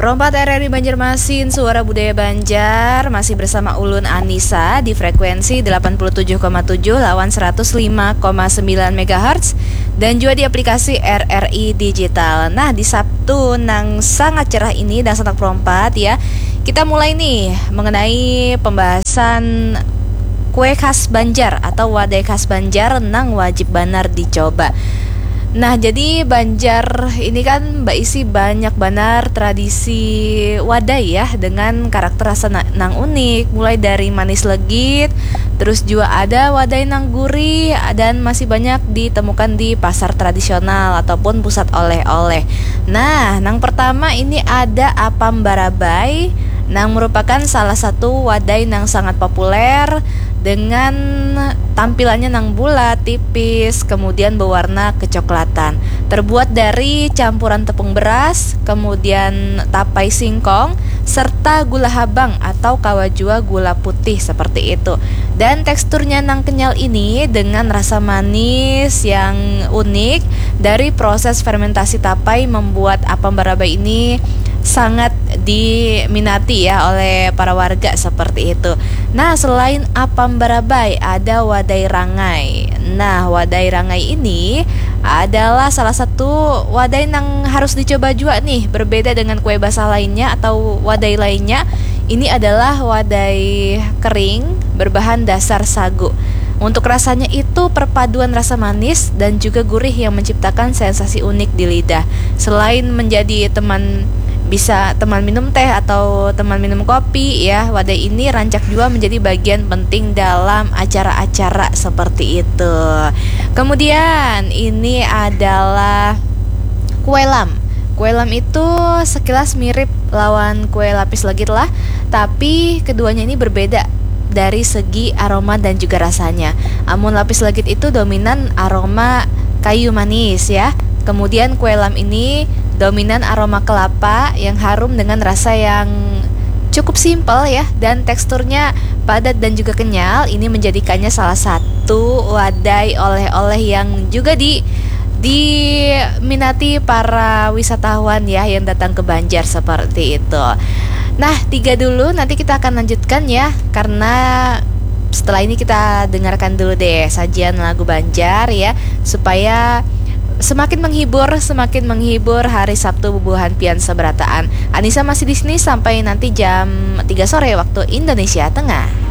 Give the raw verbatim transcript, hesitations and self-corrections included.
Rompat R R I Banjarmasin, Suara Budaya Banjar, masih bersama ulun Anissa di frekuensi delapan puluh tujuh koma tujuh lawan seratus lima koma sembilan megahertz dan juga di aplikasi R R I Digital. Nah, di Sabtu nang sangat cerah ini dan sangat berompat ya, kita mulai nih mengenai pembahasan kue khas Banjar atau wadai khas Banjar nang wajib banar dicoba. Nah, jadi Banjar ini kan baisi banyak banar tradisi wadai ya, dengan karakter rasa na- nang unik, mulai dari manis legit, terus juga ada wadai nang gurih dan masih banyak ditemukan di pasar tradisional ataupun pusat oleh-oleh. Nah, nang pertama ini ada apam barabai nang merupakan salah satu wadai nang sangat populer dengan tampilannya nang bulat, tipis, kemudian berwarna kecoklatan. Terbuat dari campuran tepung beras, kemudian tapai singkong, serta gula habang atau kawa jua gula putih seperti itu. Dan teksturnya nang kenyal ini dengan rasa manis yang unik dari proses fermentasi tapai membuat apam barabai ini sangat diminati ya oleh para warga seperti itu. Nah, selain apam barabai, ada wadai rangai. Nah, wadai rangai ini adalah salah satu wadai nang harus dicoba juga nih, berbeda dengan kue basah lainnya atau wadai lainnya. Ini adalah wadai kering berbahan dasar sagu. Untuk rasanya itu perpaduan rasa manis dan juga gurih yang menciptakan sensasi unik di lidah. Selain menjadi teman, bisa teman minum teh atau teman minum kopi ya, wadai ini rancak jua menjadi bagian penting dalam acara-acara seperti itu. Kemudian ini adalah kue lam. Kue lam itu sekilas mirip lawan kue lapis legit lah, tapi keduanya ini berbeda dari segi aroma dan juga rasanya. Amun lapis legit itu dominan aroma kayu manis ya. Kemudian kue lam ini dominan aroma kelapa yang harum dengan rasa yang cukup simpel ya, dan teksturnya padat dan juga kenyal. Ini menjadikannya salah satu wadai oleh-oleh yang juga di diminati para wisatawan ya yang datang ke Banjar seperti itu. Nah, tiga dulu, nanti kita akan lanjutkan ya, karena setelah ini kita dengarkan dulu deh sajian lagu Banjar ya, supaya semakin menghibur, semakin menghibur hari Sabtu bubuhan pian seberataan. Anissa masih di sini sampai nanti jam tiga sore waktu Indonesia Tengah.